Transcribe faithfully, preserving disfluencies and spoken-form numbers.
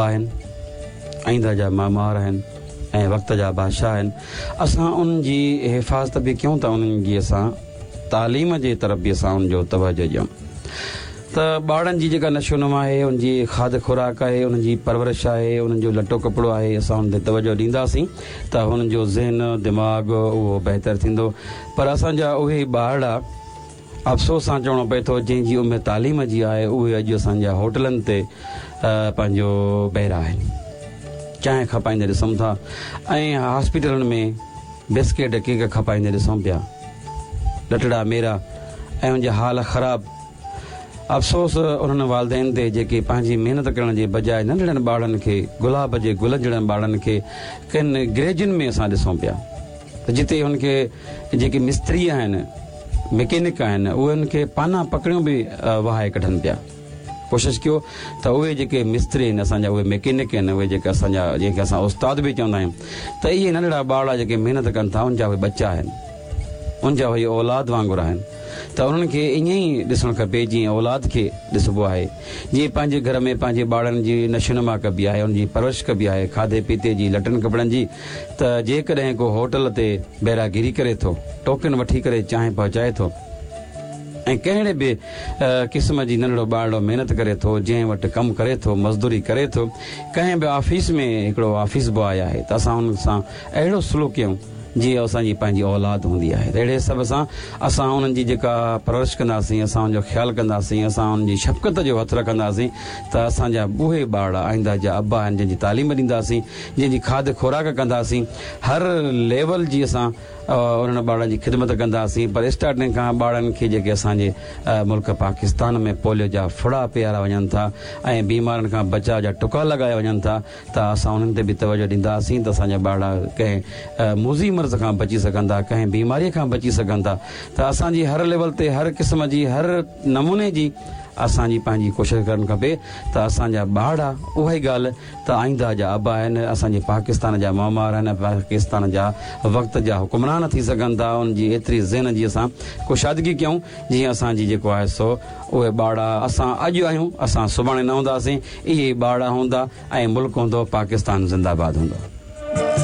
آهن، آئنده جا معمار آهن ۽ وقت جا بادشاهه آهن. اسان انهن جي حفاظت به ڪيون ته انهن جي اسان تعليم جي طرف به اسان ان جو توجه ڏيون ته ٻارڙن جي جيڪا نشو نما آهي، ان جي کاڌ خوراڪ آهي، انهن جي پرورش آهي، انهن جو لٽو ڪپڙو آهي، اسان ان تي توجه ڏينداسين ته هنن جو ذهن دماغ اهو بهتر ٿيندو. پر اسان جا اهي ٻارڙا افسوس سان چوڻو پئي ٿو جنهن جي عمر تعليم جي آهي، اهي اڄ اسان جا هوٽلن تي پنهنجو بيرا آهن، چانهه کپائيندي ڏسون ٿا ۽ هاسپيٽلن ۾ بسڪيٽ ڪيڪ کپائيندي ڏسون پيا، لٽڙا ميرا ۽ ان جا حال خراب. افسوس انهن والدين تي جيڪي پنهنجي محنت ڪرڻ جي بجاءِ ننڍڙن ٻارڙن کي، گلاب جي گلن جهڙن ٻارڙن کي ڪن گريجن ۾ اسان ڏسون پيا ته جتي هن کي جيڪي مستري آهن، مڪينڪ آهن، اهي هن کي پانا پڪڙيون به وهائي ڪڍن پيا. ڪوشش ڪيو ته اهي جيڪي مستري آهن اسان جا، اهي مڪينڪ آهن، اهي جيڪي اسان جا جنهن کي اسان استاد به چوندا آهيون، ته اهي ننڍڙا ٻارڙا جيڪي محنت ڪن ٿا ان جا اهي ٻچا آهن، ان جا اهي اولاد وانگر آهن، ته انهن کي ائين ئي ڏسڻ کپي جيئن اولاد کي ڏسبو آهي، جيئن پنهنجي گهر ۾ پنهنجي ٻارڙن جي نشونما ڪبي آهي، انهن جي پرورش ڪبي آهي کاڌي پيتي جي، لٽن ڪپڙن جي، ته جيڪڏهن ڪو هوٽل تي بيراگيري ڪري ٿو، ٽوڪن وٺي ڪري چانهه پهچائي ٿو ۽ ڪهڙي به قسم جي ننڍڙو ٻارڙو محنت ڪري ٿو، جنهن وٽ ڪم ڪري ٿو، مزدوري ڪري ٿو، ڪنهن به آفيس ۾ هڪڙو آفيس بواء آهي ته اسان ان سان اهڙو سلوڪ ڪيون جيئن اسان جي پنهنجي اولاد هوندي آهي. اهڙي حساب سان اسان انهن جي جيڪا پرورش ڪنداسين، اسان ان جو خيال ڪنداسين، اسان انهن جي شفقت جو هٿ رکنداسين ته اسان جا اهي ٻارڙا آئنده جا ابا آهن، جن جي تعليم ڏينداسين، جن جي کاڌ خوراڪ ڪنداسين، هر ليول جي اسان انهن ٻارڙن جي خدمت ڪنداسين. پر اسٽارٽنگ کان ٻارڙن کي جيڪي اسان جي ملڪ پاڪستان ۾ پوليو جا ڦڙا پيارا وڃن ٿا ۽ بيمارن کان بچاء جا ٽڪا لڳايا وڃن ٿا، ته اسان انهن تي به توجه ڏينداسين ته اسان جا ٻارڙا ڪنهن موذي مرض کان بچي سگهن ٿا، ڪنهن بيماريء کان بچي سگهن ٿا. ته اسان جي هر ليول تي هر قسم جي هر نموني جي اسان جي پنهنجي ڪوشش ڪرڻ کپي ته اسان جا ٻارڙا اها ئي ڳالهه ته آئنده جا ابا آهن، اسان جي پاڪستان جا معمار آهن، پاڪستان جا وقت جا حڪمران ٿي سگهن ٿا. ان جي ايتري ذهن جي اسان ڪشادگي ڪيون جيئن اسان جي جيڪو آهي سو اهي ٻارڙا اسان اڄ آهيون، اسان سڀاڻي نه هونداسين، اهي ئي ٻارڙا هوندا ۽ ملڪ هوندو، پاڪستان زنده باد هوندو.